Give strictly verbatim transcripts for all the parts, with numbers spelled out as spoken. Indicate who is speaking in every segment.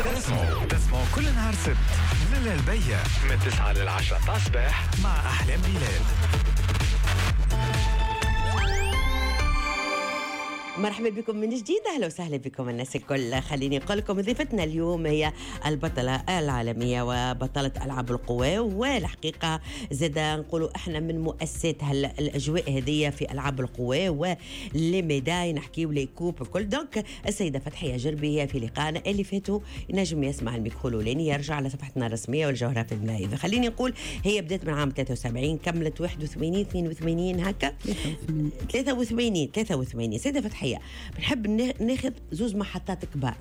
Speaker 1: تسمعوا تسمعوا كل نهار سبت من البية من تسعة للعشرة متاع الصباح مع أحلام بلال.
Speaker 2: مرحبا بكم من جديد، اهلا وسهلا بكم الناس الكل. خليني نقول لكم ضيفتنا اليوم هي البطلة العالمية وبطله العاب القوى، والحقيقة زاد نقولوا احنا من مؤسسات الاجواء هذه في العاب القوى و les médailles، نحكيو les coupes الكل. donc السيدة فتحيه جربي هي في لقائنا اللي فاتوا، ينجم يسمع الميكرو الاولاني يرجع على صفحتنا الرسمية والجوهره في الماء. خليني نقول هي بدات من عام ثلاثة وسبعين، كملت واحد وثمانين اثنين وثمانين هكا ثلاثة وثمانين ثلاثة وثمانين. سيده فتحيه، بنحب ناخذ زوز محطات كبار.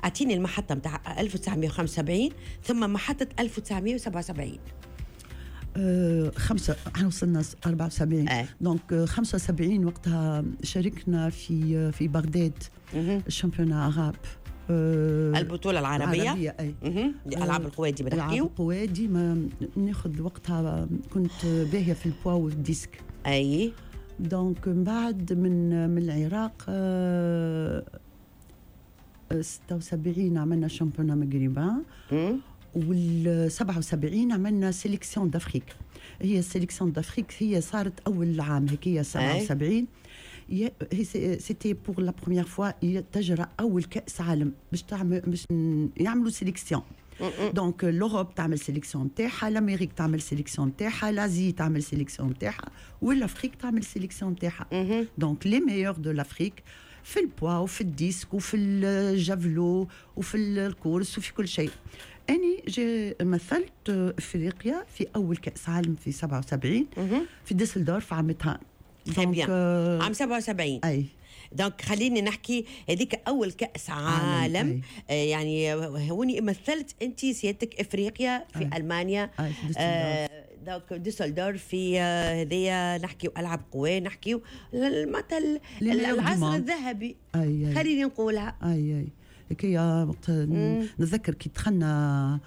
Speaker 2: اعطيني المحطة نتاع ألف وتسعمية وخمسة وسبعين ثم محطة ألف وتسعمية وسبعة وسبعين.
Speaker 3: أه خمسة احنا وصلنا أربعة وسبعين. أه. donc خمسة وسبعين وقتها شاركنا في في بغداد ال championnat arabe،
Speaker 2: أه البطولة العربية، العربية أي. ألعاب القوى ديما نحكيو.
Speaker 3: ألعاب القوى ديما ناخذ وقتها كنت باهية في ال poids وال disque.
Speaker 2: أي.
Speaker 3: donc من بعد من من العراق أه ستة وسبعين عملنا championnat maghrébin، وال سبعة وسبعين عملنا sélection d'Afrique. هي sélection d'Afrique هي صارت اول عام هيك سبعة وسبعين، هي c'était pour la première fois تجرى اول كاس عالم باش تعمل باش يعملوا sélection. donc l'Europe تعمل sélection نتاعها، l'Amérique تعمل sélection نتاعها، l'Asie تعمل sélection نتاعها، و l'Afrique تعمل sélection نتاعها. donc les meilleurs de l'Afrique في ال poids وفي ال disque وفي ال javelot وفي ال course وفي كل شيء. اني j'ai مثلت افريقيا في اول كاس عالم في سبعة وسبعين في ديسلدورف عامتها.
Speaker 2: donc عام سبعة وسبعين.
Speaker 3: اي.
Speaker 2: donc خليني نحكي هذيك اول كاس عالم, عالم. آه يعني هوني مثلت انت سيادتك افريقيا في أي. المانيا.
Speaker 3: أي.
Speaker 2: آه donc ديسلدورف في هذيا نحكيو العاب قوى، نحكيو معناتها العصر الذهبي.
Speaker 3: أي. أي.
Speaker 2: خليني نقولها.
Speaker 3: اي اي كي وقت نتذكر كي دخلنا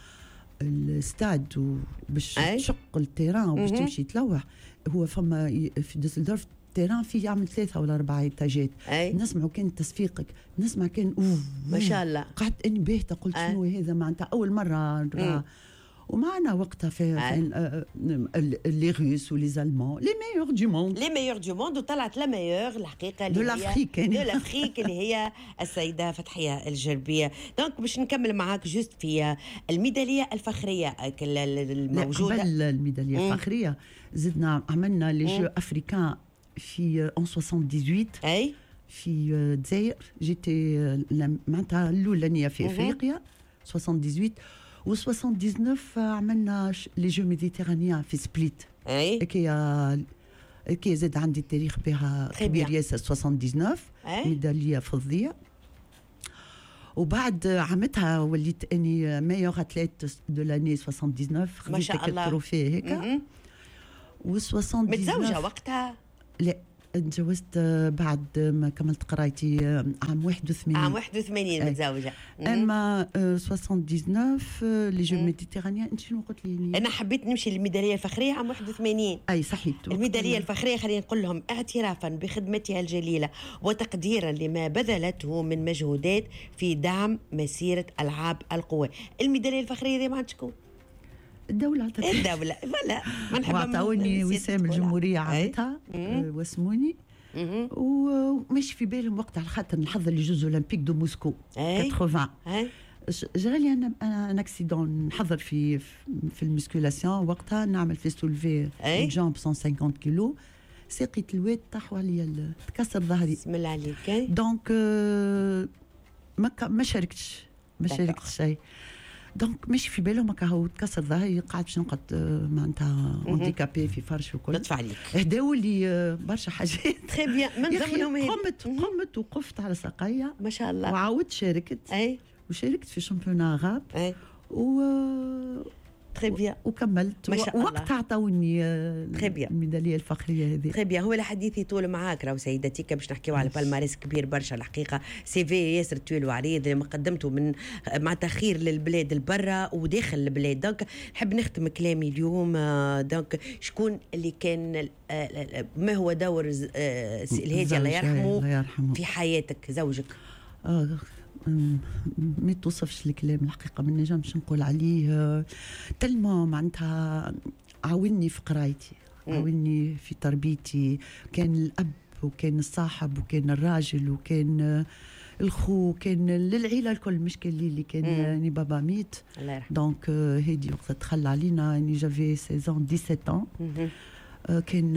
Speaker 3: الاستاد وباش تشق ال terrain وباش تمشي تلوح، هو فما في ديسلدورف terrain فيه يعمل ثلاثة ولا أربعة إتاجات. نسمعوا كان تصفيقك، نسمع كان أوف
Speaker 2: ما شاء الله.
Speaker 3: قعدت أني باهتة، قلت شنو هذا معناتها أول مرة. ومعنا وقتها في les Russes و les Allemands، les meilleurs du monde،
Speaker 2: les meilleurs du monde. وطلعت la meilleure الحقيقة
Speaker 3: de l'Afrique،
Speaker 2: de l'Afrique اللي هي السيدة فتحيه الجربيه. donc باش نكمل معاك juste في الميداليه الفخريه الموجودة.
Speaker 3: قبل الميداليه الفخريه زدنا عملنا les Jeux africains في en ثمانية وسبعين.
Speaker 2: اي
Speaker 3: في الجزائر j'étais معناتها الاولانية في افريقيا ثمانية وسبعين. و تسعة وسبعين عملنا les Jeux méditerranéens في سبليت.
Speaker 2: اي
Speaker 3: كي كي زاد عندي التاريخ بها كبير ياسر. تسعة وتسعين ميدالية فضية. وبعد عامتها وليت اني meilleure athlète de l'année تسعة وسبعين، خديت ال trophée هيك. و تسعة وسبعين
Speaker 2: متزوجة وقتها؟
Speaker 3: لا، تجوزت بعد ما كملت قرايتي عام واحد وثمانين.
Speaker 2: عام واحد وثمانين متزوجة.
Speaker 3: اما تسعة وتسعين les Jeux méditerranéens. انت شنو قلت لي؟
Speaker 2: انا حبيت نمشي للميداليه الفخريه عام واحد وثمانين.
Speaker 3: اي صحيت.
Speaker 2: الميداليه الفخريه خلينا نقول لهم اعترافا بخدمتها الجليلة وتقديرا لما بذلته من مجهودات في دعم مسيره العاب القوى. الميداليه الفخريه دي ما عندكم؟
Speaker 3: الدولة عطتني.
Speaker 2: الدولة فلا
Speaker 3: ما نحب. عطاوني وسام الجمهورية عطتها واسموني، ومش في بالهم وقت على خاطر نحضر les Jeux olympiques de Moscou ثمانين. جرالي انا un accident نحضر في في ال musculation وقتها، نعمل في soulevé jambes مية وخمسين كيلو، ساقي تلوات طاحوا عليا، تكسر ظهري.
Speaker 2: بسم الله عليك.
Speaker 3: donc ما ما شاركتش، ما شاركتش شيء. donc ماشي في بالهم هكا هو تكسر ظهري، قعدت باش نقعد معناتها handicapée في فرش وكل.
Speaker 2: لطف عليك.
Speaker 3: هداو لي برشا حاجات.
Speaker 2: très bien. من ضمنهم
Speaker 3: قمت قمت وقفت على ساقيا
Speaker 2: ما شاء الله،
Speaker 3: وعاودت شاركت.
Speaker 2: اي
Speaker 3: وشاركت في championnat arabe.
Speaker 2: اي
Speaker 3: و
Speaker 2: très bien
Speaker 3: وكملت. وقتها عطاوني الميداليه الفخريه هذه.
Speaker 2: très bien. هو الحديث يطول معاك راهو سيدتي، باش نحكيو على palmarès كبير برشا الحقيقة، CV ياسر طويل وعريض ما قدمته من مع تخير للبلاد البرة وداخل البلاد. donc نحب نختم كلامي اليوم. donc شكون اللي كان، ما هو دور الهادي الله يرحمه في حياتك زوجك؟
Speaker 3: آه ما توصفش الكلام الحقيقة، ما نجمش نقول عليه tellement معناتها عاوني في قرايتي، عاوني في تربيتي، كان الاب وكان الصاحب وكان الراجل وكان الخو، كان للعيلة الكل، مش كان لي اللي كان يعني بابا ميت.
Speaker 2: الله يرحمه.
Speaker 3: donc هادي وقت تخلى علينا يعني j'avais seize ans dix-sept ans، كان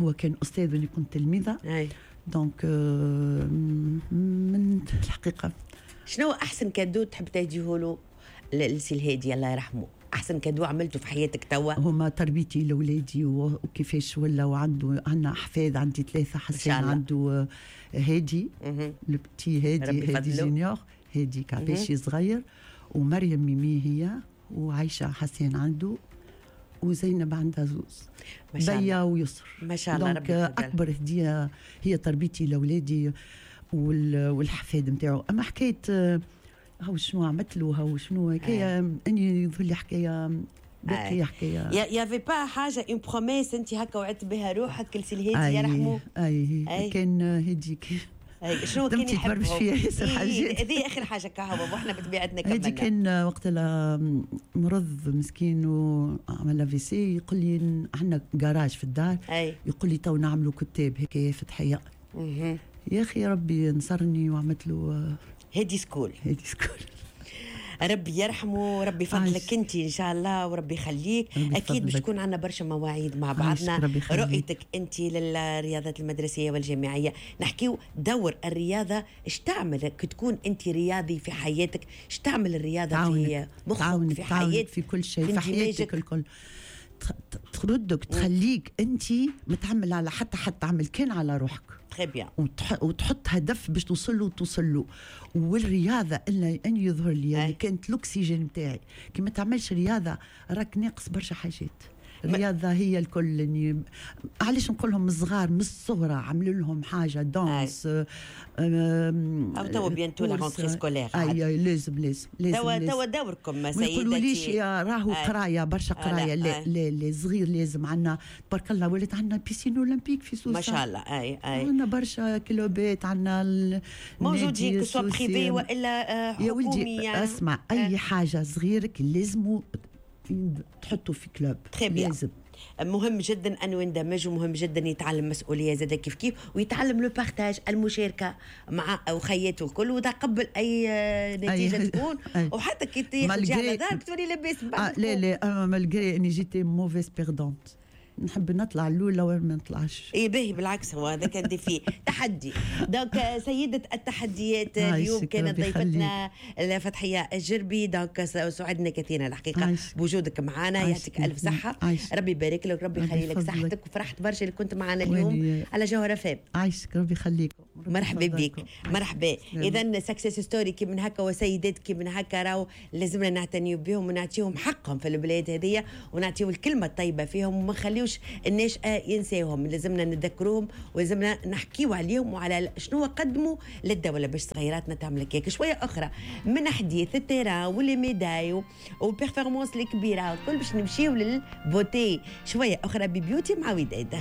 Speaker 3: هو كان استاذ وانا كنت تلميذه. donc من الحقيقة
Speaker 2: شنو احسن cadeau تحب تهديه له لسي الهادي الله يرحمه؟ احسن cadeau عملته في حياتك توا؟
Speaker 3: هما تربيتي لاولادي وكيفاش ولا، وعنده عندنا احفاد، عندي ثلاثه، حسين عنده هادي le petit هادي، هادي junior، هادي كعباشي صغير، ومريم ميمي هي، وعايشة حسين عنده، وزينب عندها زوز، بيا ويسر.
Speaker 2: ما شاء الله.
Speaker 3: ربي اكبر هديه هي تربيتي لاولادي والحفاد نتاعو. اما حكاية هاو شنو عملت له، هاو شنو حكاية، اني يظهر لي حكاية باقية حكاية.
Speaker 2: y avait pas حاجة une promesse انت هكا وعدت بها روحك لسي الهادي يرحمه؟
Speaker 3: اي, أي. كان هادي
Speaker 2: شنو كان يحب؟
Speaker 3: فيها ياسر حاجات.
Speaker 2: هذه اخر حاجة كهو واحنا بطبيعتنا كملنا.
Speaker 3: هادي كان وقت مرض مسكين وعمل AVC، يقول لي عندنا جراج في الدار، أي. يقول لي تو نعملوا كتاب هكايا فتحيه. يا اخي ربي نصرني وعملت له
Speaker 2: هادي school.
Speaker 3: هادي school.
Speaker 2: ربي يرحمه، ربي يفضلك انت ان شاء الله وربي يخليك. اكيد باش تكون عندنا برشا مواعيد مع بعضنا. رؤيتك انت للرياضات المدرسية والجامعيه، نحكيو دور الرياضة، اش تعمل كي تكون انت رياضي في حياتك؟ اش تعمل الرياضة في مخك، في حياتك،
Speaker 3: في كل شيء، في حياتك الكل؟ تردك، تخليك انت متعمل على حتى حتى تعمل كان على روحك.
Speaker 2: Très bien.
Speaker 3: وتحط هدف باش توصل له وتوصل له. والرياضة الا ان يظهر لي يعني كانت الاكسجين نتاعي. كي ما تعملش رياضة راك ناقص برشا حاجات. الرياضة هي الكل. يعني علاش نقول لهم الصغار من الصغرى عملوا لهم حاجة danse
Speaker 2: او توا bientôt la rentrée scolaire.
Speaker 3: اي لازم لازم لازم
Speaker 2: توا توا دوركم سيداتي.
Speaker 3: ما يقولوليش يا راهو قرايه برشا قرايه، لا لا لا صغير لازم. عندنا تبارك الله ولات عندنا piscine olympique في سوسة
Speaker 2: ما شاء الله. اي اي
Speaker 3: عندنا برشا club ات، عندنا
Speaker 2: موجودين que ce soit privé والا حكومي.
Speaker 3: يا ولدي اسمع، اي حاجة صغيرك لازم تحطه في club، لازم.
Speaker 2: مهم جدا انه يندمج، ومهم جدا يتعلم مسؤولية زاد كيف كيف، ويتعلم le partage، المشاركة مع اخياته الكل، وتقبل اي نتيجة أي تكون. أي. وحتى كي تجي على دارك تولي لاباس.
Speaker 3: آه لا لا انا malgré اني j'étais mauvaise perdante، نحب نطلع الاولى وما نطلعش.
Speaker 2: اي باهي، بالعكس هو هذا كان défi تحدي. donc سيده التحديات اليوم كانت ضيفتنا فتحيه الجربي. donc سعدنا كثيرا الحقيقة بوجودك معنا، يعطيك الف صحة، عايش. ربي يبارك لك، ربي يخلي لك صحتك، وفرحت برشا اللي كنت معنا اليوم على جوهرة فام.
Speaker 3: عايشك، ربي يخليك،
Speaker 2: مرحبا بك، مرحبا. اذا success story كي من هكا وسيدات كي من هكا راهو لازمنا نعتنيو بهم ونعطيهم حقهم في البلاد هذيا، ونعطيو الكلمة الطيبة فيهم، وما نخليوش الناشئة ينساوهم. لازمنا نذكروهم ولازمنا نحكيو عليهم وعلى شنو قدموا للدولة باش صغيراتنا تعمل كيك. شوية اخرى من حديث ال terrain و les médailles وال performances الكبيرة الكل باش نمشيو لل beauté. شوية اخرى ب beauty مع وداد.